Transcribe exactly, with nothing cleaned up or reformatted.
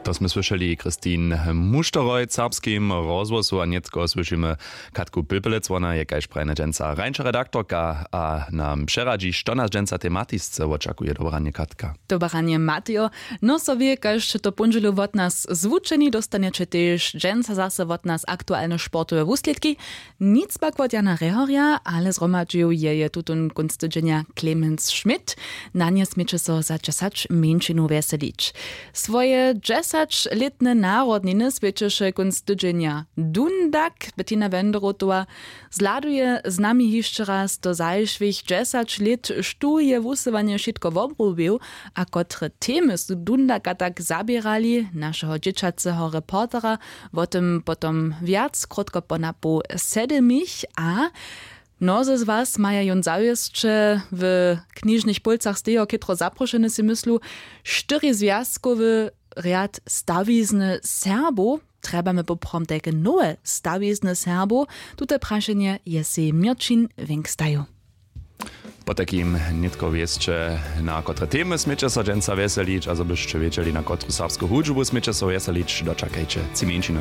To smy słyšeli Christine Mušteroj w serbskim rozhłosu a nětko słyšimy Katku Pilpelec. Wona je kaž prajene dźensa rańša redaktorka a nam přeradźi, što nas dźensa tematisce wočakuje. Dobranje, Katka. Dobranje, Matejo. No so wě, kaž to póndźelu wot nas zwučeni, dóstanjeće tež dźensa zase wot nas aktualne sportowe wuslědki. Nic pak wot Jana Rehorja, ale zhromadźił je je tutón kónc tydźenja Clemens Schmidt. Na nje směće so za dźesać mjeńšinow wjeselić. Swoje dźesaćlětne narodniny swjećeše kónc tydźenja Dundak. Bettina Wenderotowa zhladuje z nami hišće raz do zašłych dźesać lět, štó je wusyłanje wšitko wobrobił a kotre temy su Dundaka tak zaběrali, našeho dźěćaceho reportera. Wo tym potom wjac krótko po napoł sedymich. A mnozy z was maja jón zawěsće w knižnych pólcach stejo chětro zaprošeny, sej myslu, štyri zwjazkowy rjad stawizny Serbow. Trjebamy poprawom tajke nowe stawizny Serbow? Tute prašenje je sej Měrćin Wink stajał. Potajkim nětko wěsće, na kotre temy směće so dźensa wjeselić a zo byšće wědźeli, na kotru serbsku hudźbu směće so wjeselić, dočakajće tři mjeńšiny.